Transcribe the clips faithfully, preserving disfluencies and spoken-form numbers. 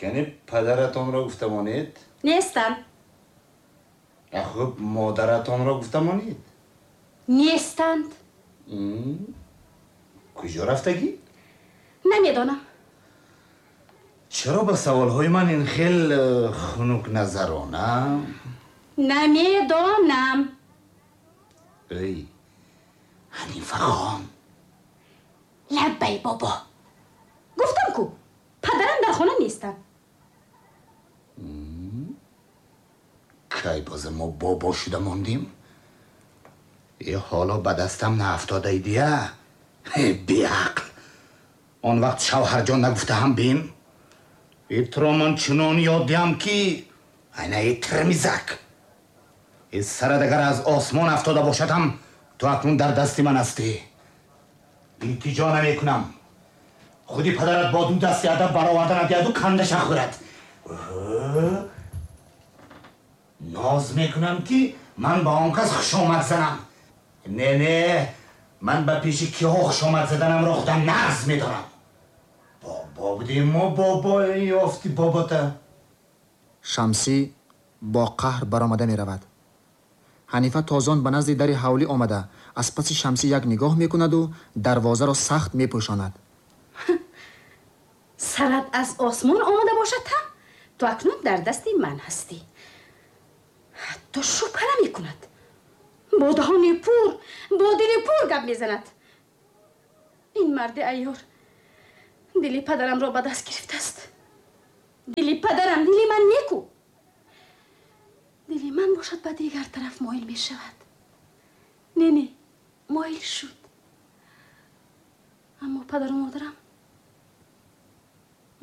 Кани падаратонро гуфта монед? Нестанд. Хуб, модаратонро гуфта монед? Нестанд. Куҷо рафтагӣ? Намедонам. Чаро ба саволҳои ман ин хел хунукназарона? Намедонам. Эй, Ҳанифахон. Лаббай, бобо. Гуфтам ку, падарам дар хона нестанд. Кай боз мо бобо шуда мондем? Е ҳоло ба дастам наафтодаи дия. Беақл. Он вақт шавҳарҷон нагуфта ҳам бин. Итро ман чунон ёд диҳам ки айна итр мизак. Э сарат агар аз осмон афтода бошад ҳам ту акнун дар дасти ман ҳастӣ. Илтиҷо намекунам. Худи падарат бо ду дасти адаб бароварда надиҳаду кандаша хӯрад. Ноз мекунам ки ман ба он кас хушомад занам. Не, не, ман ба пеши киҳо хушомад заданамро худам нағз медонам. Бобо будем мо, бобо ёфти бобота. Шамсӣ бо қаҳр баромада меравад. Ҳанифа тозон ба назди дари ҳавлӣ омада, аз паси Шамсӣ як нигоҳ мекунаду дарвозаро сахт мепӯшонад. Сарат аз осмон омада бошад ҳам ту акнун дар дасти ман ҳастӣ. Ҳатто шубҳа намекунад. Бо даҳони пур, бо дили пур гап мезанад. Ин марди айёр дили падарамро ба даст гирифтааст. Дили падарам, дили ман неку. Дили ман бошад ба дигар тараф моил мешавад. Не, не, моил шуд. Аммо падару модарам,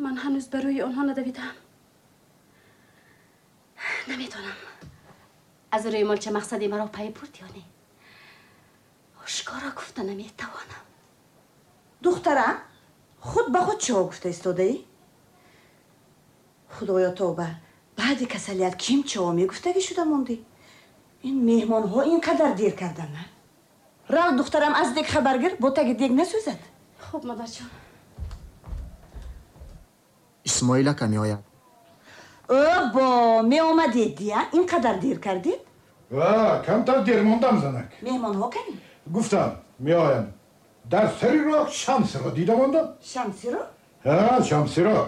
ман ҳанӯз ба рӯи онҳо надавидаам. Намедонам аз рӯи молча мақсади маро пай бурд ё не. Ошкоро гуфта наметавонам. Духтарам, худ ба худ чиҳо гуфта истодаӣ? Худоё тавба, баъди касалият ким чиҳо мегуфтагӣ шуда мондӣ? Ин меҳмонҳо ин қадар дер карданд. Рав, духтарам, аз дег хабар гир, бо таги дег насӯзад. Хуб, модарҷон. Исмоил ака меояд. О, бо меомадед дия, ин қадар дер кардед? Камтар дер мондам, занак. Меҳмонҳо кани? Гуфтам, меоям. Дар сари роҳ Шамсиро дида мондам. Шамсиро? Ҳа, Шамсиро.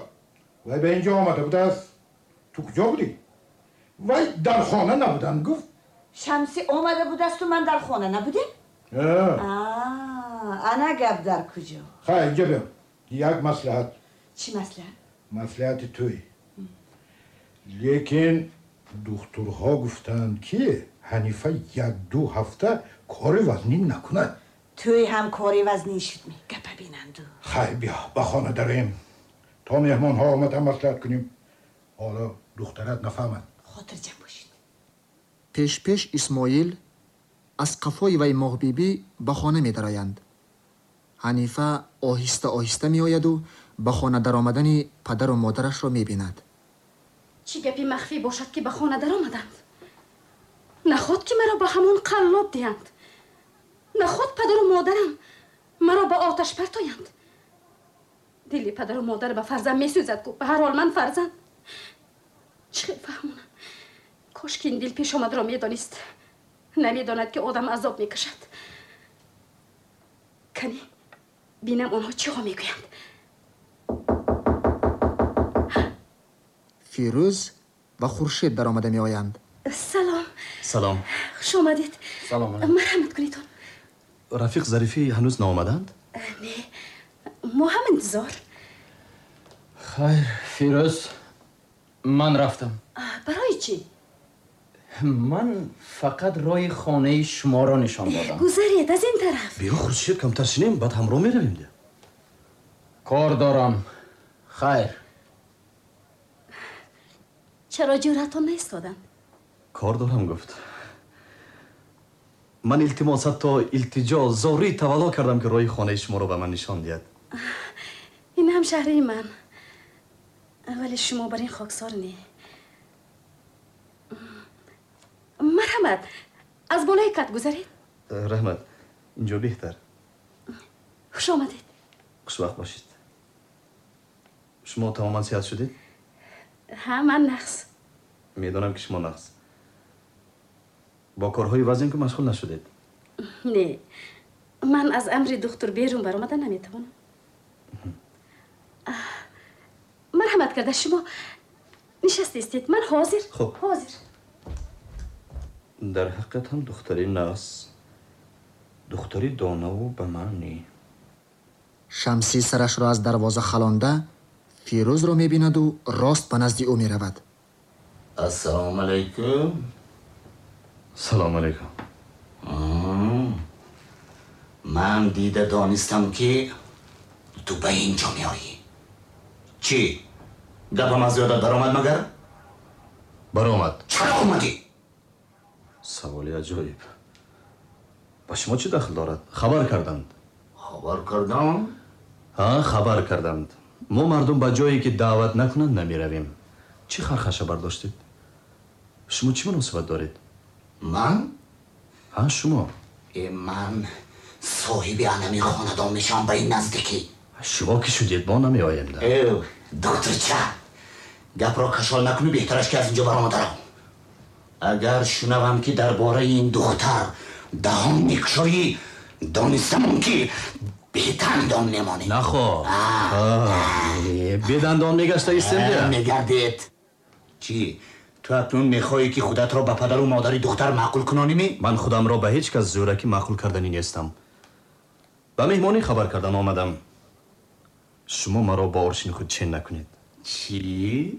Вай ба инҷо омада будааст. Ту куҷо будӣ? Вай дар хона набудам, гуфт. Шамсӣ омада будасту ман дар хона набудем? Ана гап дар куҷо? Хай, инҷа биё. Як маслиҳат. Чӣ маслиҳат? Маслиҳати туй. Лекин духтурҳо гуфтанд ки Ҳанифа як-ду ҳафта кори вазнин накунад. Туй ҳам кори вазнин шуд ми? Гапа бинанду. Хай, биё ба хона дароем. То меҳмонҳо омада маслиҳат кунем. Ҳоло духтарат нафаҳмад. Хотирҷам бошед. Пешпеш Исмоил, аз қафои вай Моҳбибӣ ба хона медароянд. Ҳанифа оҳиста оҳиста меояду ба хона даромадани падару модарашро мебинад. Чӣ гапи махфӣ бошад ки ба хона даромаданд? Наход ки маро ба ҳамон қаллоб диҳанд. Наход падару модарам маро ба оташ партоянд. Дили падару модар ба фарзанд месӯзад ку, ба ҳар ҳол ман фарзанд. Чӣ хел фаҳмонам? Кошки ин дил пешомадро медонист. Намедонад ки одам азоб мекашад. Кани бинам онҳо чиҳо мегӯянд. Фирӯз ва Хуршед даромада меоянд. Салом. Салом. Хуш омадед. Салом. Марҳамат кунедон. Рафиқ Зарифӣ ҳанӯз наомаданд? Не, мо ҳам интизор. Хайр, Фирӯз, ман рафтам. Барои чӣ? Ман фақат роҳи хонаи шуморо нишон додам. Гузаред аз ин тараф. Биё, Хуршед, камтар шинем, баъд ҳамроҳ меравем. Кор дорам. Хайр. Чаро ҷӯратон наистоданд? Кор дорам, гуфт. Ман илтимос, ҳатто илтиҷо, зорӣ тавалло кардам ки роҳи хонаи шуморо ба ман нишон диҳад. Ин ҳам шаҳраи ман, вале шумо бар ин хоксор не. Марҳамат, аз болои кат гузаред. Раҳмат, инҷо беҳтар. Хуш омадед. Хушвақт бошед. Шумо тамоман сиҳат шудед? Ҳа, ман нағз. Медонам ки шумо нағз. Бо корҳои вазин ки машғул нашудед. Не, ман аз амри духтур берун баромада наметавонам. Марҳамат карда шумо нишаста истед, ман ҳозир. Хуб. Ҳозир. Дар ҳақиқат ҳам духтари нағз, духтари донаву ба маънӣ. Шамсӣ сарашро аз дарвоза халонда Фирӯзро мебинаду рост ба назди ӯ меравад. Ассалому алайкум. Салому алайкум. Ман дида донистам ки ту ба ин ҷо меоӣ. Чӣ гапам аз ёдат баромад магар? Баромад. Чаро омадӣ? Саволи аҷоиб. Ба шумо чӣ дахл дорад? Хабар карданд. Хабар кардам? Ҳа, хабар карданд. Мо мардум ба ҷое ки даъват накунанд намеравем. Чӣ хархаша бардоштед? Шумо чӣ муносибат доред? Ман? Ҳа, шумо. Э, ман соҳиби анами хонадон мешавам ба ин наздикӣ. Шумо ки шудед, мо намеоем. Э, духтурча, гапро кашол накунӣ, беҳтараш ки аз инҷо баромада рав. Агар шунавам ки дар бораи ин духтар даҳон мекушоӣ, донистамон ки бедандон мемонӣ. Нахо, бедандон мегашта истем. Мегардед. Чӣ, ту акнун мехоҳӣ ки худатро ба падару модари духтар маъқул кунонӣ ми? Ман худамро ба ҳеҷ кас зӯракӣ маъқул карданӣ нестам. Ба меҳмонӣ хабар кардан омадам. Шумо маро бо оршини худ чен накунед. Чӣ?